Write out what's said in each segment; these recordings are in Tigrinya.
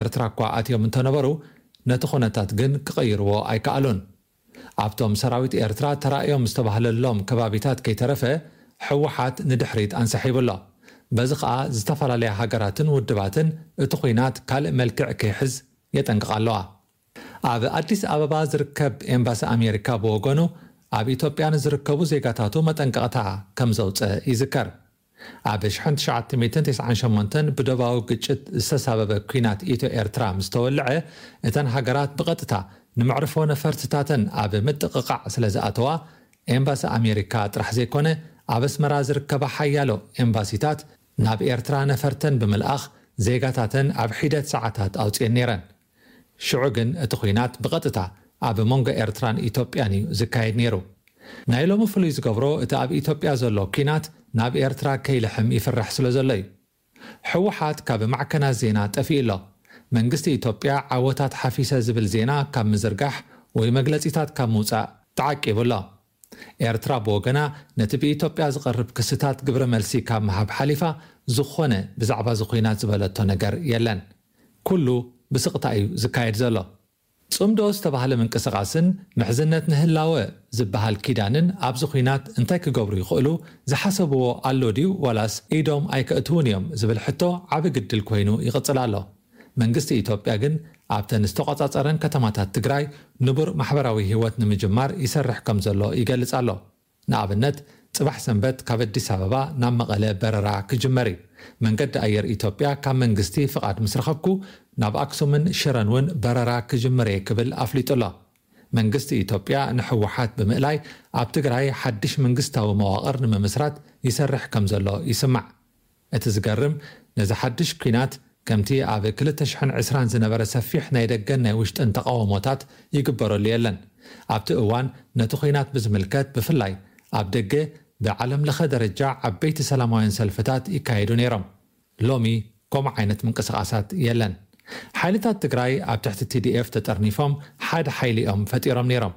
ኤርትራ እኳ ኣትዮም እንተነበሩ፣ ነቲ ኩነታት ግን ክቐይርዎ ኣይከኣሉን። ኣብቶም ሰራዊት ኤርትራ ተራእዮም ዝተባህለሎም ከባቢታት ከይተረፈ፣ ህወሓት ንድሕሪት ኣንሰሒቡ ኣሎ። በዚ ኸኣ ዝተፈላለያ ሃገራትን ውድባትን እቲ ኲናት ካልእ መልክዕ ከይሕዝ የጠንቅቓ ኣለዋ። ኣብ ኣዲስ ኣበባ ዝርከብ ኤምባሲ ኣሜሪካ ብወገኑ፣ ኣብ ኢትዮጵያ ንዝርከቡ ዜጋታቱ መጠንቀቕታ ከም ዘውጸ ይዝከር። ኣብ ሽሕን ትሽዓተ ሚእትን ተስዓን ሸሞንተን ብደባዊ ግጭት ዝተሳበበ ኲናት ኢትዮ ኤርትራ ምስ ተወልዐ፣ እተን ሃገራት ብቐጥታ ንመዕርፎ ነፈርትታተን ኣብ ምጥቕቓዕ ስለ ዝኣተዋ፣ ኤምባሲ ኣሜሪካ ጥራሕ ዘይኮነ፣ ኣብ ኣስመራ ዝርከባ ሓያሎ ኤምባሲታት ናብ ኤርትራ ነፈርተን ብምልኣኽ፣ ዜጋታተን ኣብ ሒደት ሰዓታት ኣውጽኤን ነይረን። ሽዑ ግን እቲ ኲናት ብቐጥታ ኣብ መንጎ ኤርትራን ኢትዮጵያን እዩ ዝካየድ ነይሩ። ናይ ሎሚ ፍሉይ ዝገብሮ፣ እቲ ኣብ ኢትዮጵያ ዘሎ ኲናት ናብ ኤርትራ ከይልሕም ይፍራሕ ስለ ዘሎ እዩ። ህወሓት ካብ ማዕከናት ዜና ጠፊኡ ኣሎ። መንግስቲ ኢትዮጵያ ዓወታት ሓፊሰ ዝብል ዜና ካብ ምዝርጋሕ ወይ መግለጺታት ካብ ምውጻእ ተዓቂቡ ኣሎ። ኤርትራ ብወገና፣ ነቲ ብኢትዮጵያ ዝቐርብ ክስታት ግብረ መልሲ ካብ ምሃብ ሓሊፋ፣ ዝኾነ ብዛዕባ እዚ ኲናት ዝበለቶ ነገር የለን። ኩሉ ብስቕታ እዩ ዝካየድ ዘሎ። ጽምዶ ዝተባህለ ምንቅስቓስን ምሕዝነት ንህላወ ዝበሃል ኪዳንን ኣብዚ ኲናት እንታይ ክገብሩ ይኽእሉ? ዝሓሰብዎ ኣሎ ድዩ ዋላስ ኢዶም ኣይከእትዉን እዮም ዝብል ሕቶ ዓቢ ግድል ኮይኑ ይቕጽል ኣሎ። መንግስቲ ኢትዮጵያ ግን ኣብተን ዝተቖጻጸረን ከተማታት ትግራይ ንቡር ማሕበራዊ ህይወት ንምጅማር ይሰርሕ ከም ዘሎ ይገልጽ ኣሎ። ንኣብነት፣ ጽባሕ ሰንበት ካብ ኣዲስ ኣበባ ናብ መቐለ በረራ ክጅመር እዩ። መንገዲ ኣየር ኢትዮጵያ ካብ መንግስቲ ፍቓድ ምስ ረኸብኩ፣ ናብ ኣክሱምን ሽረን እውን በረራ ክጅምር እየ ክብል ኣፍሊጡ ኣሎ። መንግስቲ ኢትዮጵያ ንህወሓት ብምእላይ ኣብ ትግራይ ሓድሽ መንግስታዊ መዋቕር ንምምስራት ይሰርሕ ከም ዘሎ ይስማዕ። እቲ ዝገርም፣ ነዚ ሓድሽ ኲናት ከምቲ ኣብ ክልተ ሽሕን ዕስራን ዝነበረ ሰፊሕ ናይ ደገን ናይ ውሽጥን ተቓውሞታት ይግበረሉ የለን። ኣብቲ እዋን ነቲ ኲናት ብዝምልከት ብፍላይ ኣብ ደገ ብዓለም ለኸ ደረጃ ዓበይቲ ሰላማውያን ሰልፍታት ይካየዱ ነይሮም። ሎሚ ከምኡ ዓይነት ምንቅስቓሳት የለን። ሓይልታት ትግራይ ኣብ ትሕቲ ቲ ዲ ኤፍ ተጠርኒፎም ሓደ ሓይሊ እዮም ፈጢሮም ነይሮም።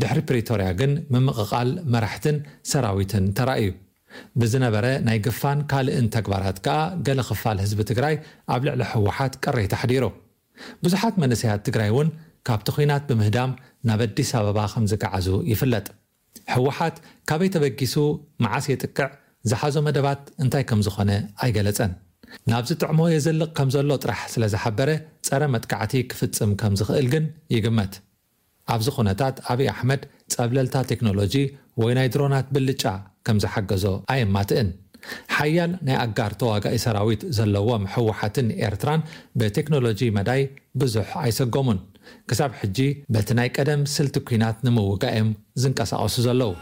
ድሕሪ ፕሪቶርያ ግን ምምቕቓል መራሕትን ሰራዊትን ተራእዩ። ብዝነበረ ናይ ግፋን ካልእን ተግባራት ከኣ ገለ ክፋል ህዝቢ ትግራይ ኣብ ልዕሊ ህወሓት ቅሬታ ኣሕዲሩ። ብዙሓት መንእሰያት ትግራይ እውን ካብቲ ኲናት ብምህዳም ናብ ኣዲስ ኣበባ ከም ዝገዓዙ ይፍለጥ። ህወሓት ካበይ ተበጊሱ፣ መዓስ የጥቅዕ፣ ዝሓዞ መደባት እንታይ ከም ዝኾነ ኣይገለጸን። ናብ ዝጥዕሞ የዘልቕ ከም ዘሎ ጥራሕ ስለ ዝሓበረ፣ ጸረ መጥቃዕቲ ክፍጽም ከም ዝኽእል ግን ይግመት። ኣብዚ ኩነታት ኣብይ ኣሕመድ ጸብለልታ ቴክኖሎጂ ወይ ናይ ድሮናት ብልጫ ከም ዝሓገዞ ኣየማትእን። ሓያል ናይ ኣጋር ተዋጋኢ ሰራዊት ዘለዎም ህወሓትን ኤርትራን ብቴክኖሎጂ መዳይ ብዙሕ ኣይሰጎሙን። ክሳብ ሕጂ በቲ ናይ ቀደም ስልቲ ኲናት ንምውጋእ እዮም ዝንቀሳቐሱ ዘለዉ።